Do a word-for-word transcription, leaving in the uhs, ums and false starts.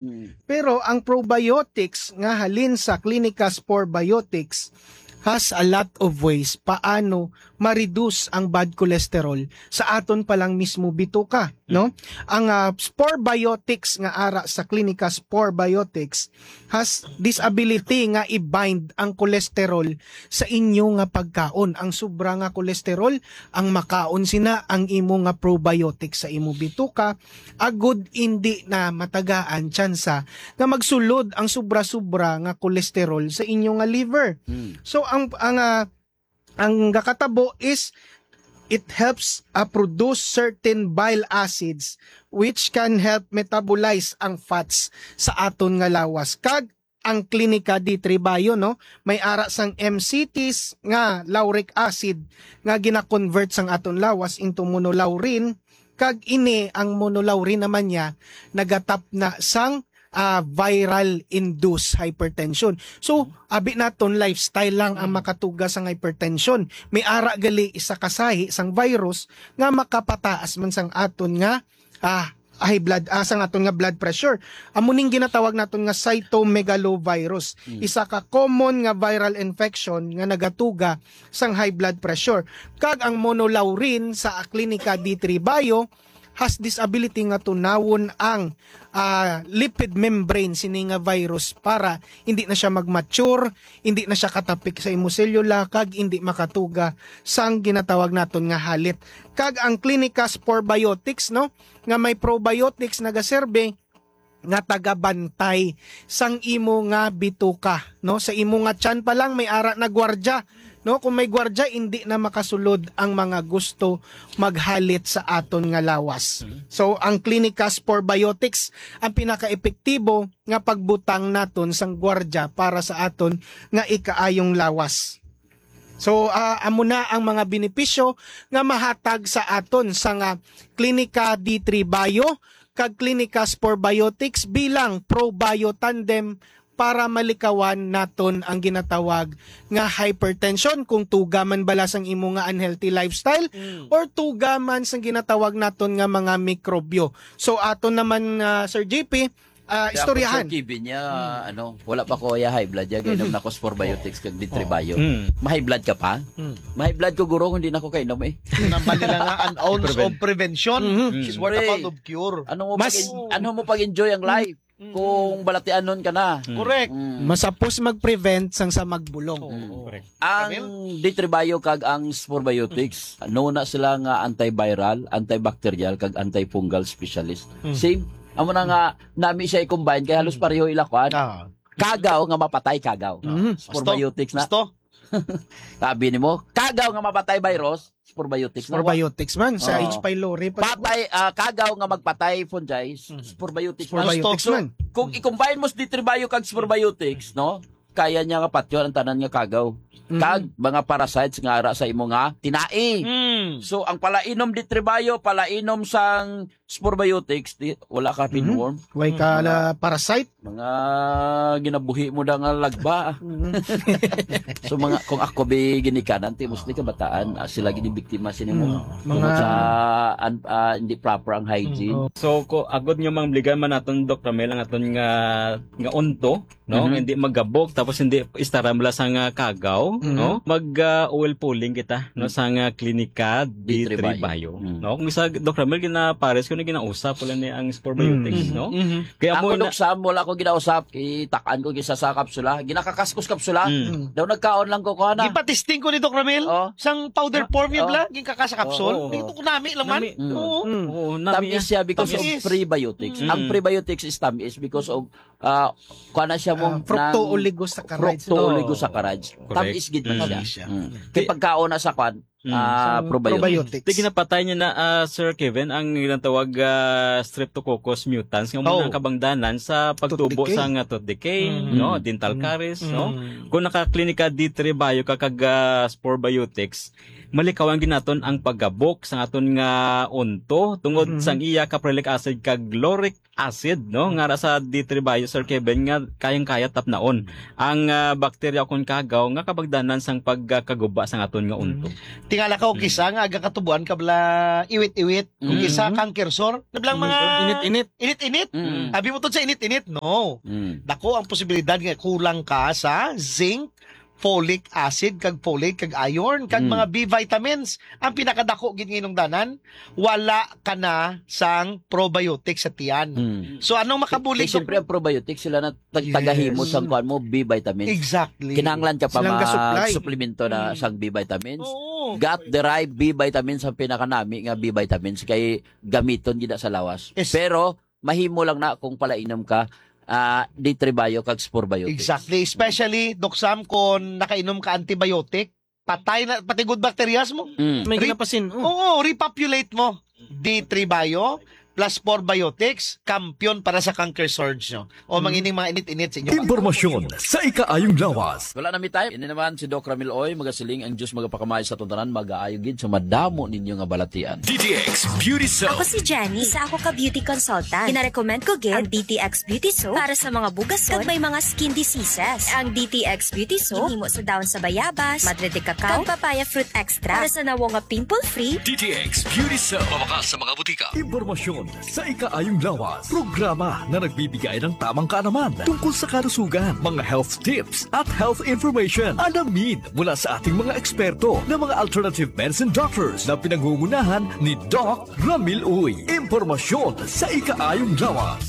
Mm. Pero ang probiotics nga halin sa Clinica Spore Biotics has a lot of ways paano ma-reduce ang bad cholesterol sa aton pa lang mismo bituka, no? Ang, ah, Spore Biotics nga ara sa Clinica Spore Biotics has this ability nga i-bind ang cholesterol sa inyo nga pagkaon. Ang sobra nga cholesterol, ang makaon sina ang imo nga probiotics sa imo bituka, agud indi na matagaan tsansa nga magsulod ang sobra-sobra nga cholesterol sa inyo nga liver. Mm. So, ang, ang, ah, ang gakatabo is it helps, ah, produce certain bile acids which can help metabolize ang fats sa aton nga lawas. Kag ang Klinika D three Bio, no, may ara sang M C Ts nga lauric acid nga gina-convert sang aton lawas into monolaurin, kag ini ang monolaurin naman niya nagatap na sang, ah, viral induced hypertension. So, abi naton lifestyle lang ang makatuga sang hypertension. May ara gali isa ka sahi sang virus nga makapataas man sang aton nga, ah, high blood, ah, sang aton nga blood pressure. Amo ning ginatawag naton nga cytomegalovirus. Mm. Isa ka common nga viral infection nga nagatuga sang high blood pressure. Kag ang monolaurin sa Klinika D three Bio has this ability nga tunawon ang, ah, lipid membrane sini nga virus para hindi na siya mag-mature, hindi na siya katapik sa imo selula, kag hindi makatuga sang ginatawag naton nga halit. Kag ang Klinika Spore Biotics, no, nga may probiotics nagaserbe nga tagabantay sang imo nga bituka, no? Sa imo nga tiyan pa lang may ara na gwardya, no? Kung may gwardya, indi na makasulod ang mga gusto maghalit sa aton nga lawas. Mhm. So, ang Klinika Spore Biotics ang pinakaepektibo nga pagbutang naton sang gwardya para sa aton nga ikaayong lawas. So, ah, amo na ang mga benepisyo nga mahatag sa aton sa nga Klinika D three Bio kag Klinika Spore Biotics bilang ProBio Tandem para malikawan naton ang ginatawag nga hypertension kung tuga man bala sang imo nga unhealthy lifestyle Mm. or tuga man sang ginatawag naton nga mga mikrobyo. So, aton naman, ah, Sir J P, ah, Kaya istoryahan. Ako, Sir Kevin, ya, Mm. ano, wala pa ko ya high blood, ya, gainom Mm. na ko Spore Biotics kag D three Oh. Bio. Mm. Ma-high blood ka pa? Mm. Ma-high blood ko, guro, kung di na ko kainom, eh. Nambal nila nga an ounce Preven- of prevention Mm. is worth a Siyempre. pound of cure. Ano mo Mas pag-en-, ano mo pag-enjoy ang life? Mm. Kung balatianon ka na. Mm. Correct. Mm. Masapos mag-prevent sang sa magbulong. Oo. Mm. Correct. Ang Camille? D three Bio kag ang Spore Biotics, no na sila nga antiviral, antibacterial, kag antifungal specialist. Mm. Same. Amo na nga, nami siya i-combine, kay halos Mm. pareho ila kuan. Ah. Kagaw nga mapatay kagaw. Mm. Spore Gusto? Biotics na. Gusto? Sabi nimo, kagaw nga mapatay virus, Spore Biotics na. Spore Biotics man, sa Oo. H. pylori pa. Patay, ah, kagaw nga magpatay fungi, Mm. Spore Biotics Spore na. Biotics So, man. kung i-combine mo sa D three Bio kag Spore Biotics, no? Kaya niya nga patyon ang tanan nga kagaw. Mm. Kag mga parasites nga ara sa imo nga tinai. Mm. So, ang palainom D three Bio, palainom sang Spore Biotics, di, wala ka Mm. pinworm. Way ka Mm. la parasite. Mga ginabuhi mo na nga lagba. Mm. So, mga, kung ako bi ginikanan, ti mostly kabataan, ah, sila gini biktima sini mo. Mm. Tungod Mga sa an-, ah, hindi proper ang hygiene. Mm, oh. So, ko, agod nga mangligan man naton, Doc Ramel, ang aton nga, nga unto, no? Mhm. Hindi magabok, tapos hindi istaram la sa nga kagaw, Mhm. no? Mag, ah, oil pulling kita, no? Mm. Sa nga Klinika D three D three Bio. Bio. Mm. No? Kung sa Doc Ramel, ginapares ko na ginausap, wala ni ang Spore Biotics, Mm. no? Mhm. Kaya Ako, mo na Doc Sam, wala ko ginausap. Itakan ko gisa sa kapsula. Ginakakas ko sa kapsula. Mm. Mm. Daw nagkaon lang ko, kuha na. Gipatisting ko ni Doc Ramil, Oh. sang powder Oh. form yun Oh. lang, ginkakasa kapsul. Oh, oh, oh. Ito ko nami lang man. Nami. Mm. Oo. Mm. Oo, nami, Tamis ah. siya because Tamis. of prebiotics. Mm. Ang prebiotics is tamis because of, ah, kuha na siya mo Ah, fructo-oligosaccharides. ng fructo-oligosaccharides. Correct. Tamis gid man Mm. siya. Tamis siya. Mm. Kay Di- pagkaon na sa kwan, Mm. ah, Sa probiotics. probiotics. Di ginapatay niya na, ah, Sir Kevin, ang ginatawag, ah, Streptococcus mutans, nga Oh. muna ang kabangdanan sa pagtubo Tooth decay. sa nga tooth decay, Mm. no? Dental Mm. caries, no? Mm. Kung naka-Klinika D three Bio ka kag, ah, Spore Biotics, Malikawan gid naton ang pagkabok sa aton nga unto tungod Mm. sang iya caprylic acid kag lauric acid, no? Nga ra sa D three Bio, Sir Kevin, nga kayang-kaya tapnaon ang, ah, bakterya kon kagaw nga kabagdanan sang pagkaguba sa aton nga unto. Tingala ka, kung Mm. kisa nga aga katubuan ka bala iwit-iwit, kung Mm. kisa canker sore, nablang mga Init-init. init-init. Mm. Abi mo to sa init-init, no. Mm. Dako ang posibilidad nga kulang ka sa zinc, folic acid, kag folate, kag iron, kag Mm. mga B vitamins. Ang pinakadako gid nga inungdanan, wala ka na sang probiotic sa tiyan. Mm. So, anong makabulig Kay siyempre, ang probiotic, sila na tag-, Yes. tagahimo sang kuan mo, B vitamins. Exactly. Kinahanglan ka pa Silang gasupply. mag-suplemento na Mm. sang B vitamins. Oo. Gut-derived B vitamins ang pinakanami nga B vitamins kay gamiton gid sa lawas. Yes. Pero mahimo lang na kung palainom ka, ah, D three Bio kag Spore Biotics. Exactly. Especially, Doc Sam, kung nakainom ka antibiotic, patay na, pati good bacterias mo. Mm. May Re-, ginapasin, oh. Oo, repopulate mo. D three Bio plus Spore Biotics, kampiyon para sa canker surge nyo. O Mm. mangining mga init-init sa inyo. Impormasyon sa ikaayong lawas. Wala na mi time. Ini naman si Doc Ramil Uy, magasiling ang Diyos magapakamay sa atong tanan, magaayo gid sa madamo ninyo nga balatian. D T X Beauty Show. Ako si Jenny. Isa ako ka beauty consultant. Ginarecommend ko gid ang D T X Beauty Soap para sa mga bugason kag may mga skin diseases. Ang D T X Beauty Soap ginhimo sa dahon sa bayabas, madre de cacao, kag papaya fruit extract para sa nawong nga pimple-free. D T X Beauty Soap. Mabakas sa mga butika. Impormasyon sa ikaayong lawas. Programa na nagbibigay ng tamang kaalaman tungkol sa kalusugan, mga health tips, at health information. Alamin mula sa ating mga eksperto na mga alternative medicine doctors na pinangungunahan ni Doc Ramil Uy. Impormasyon sa ikaayong lawas.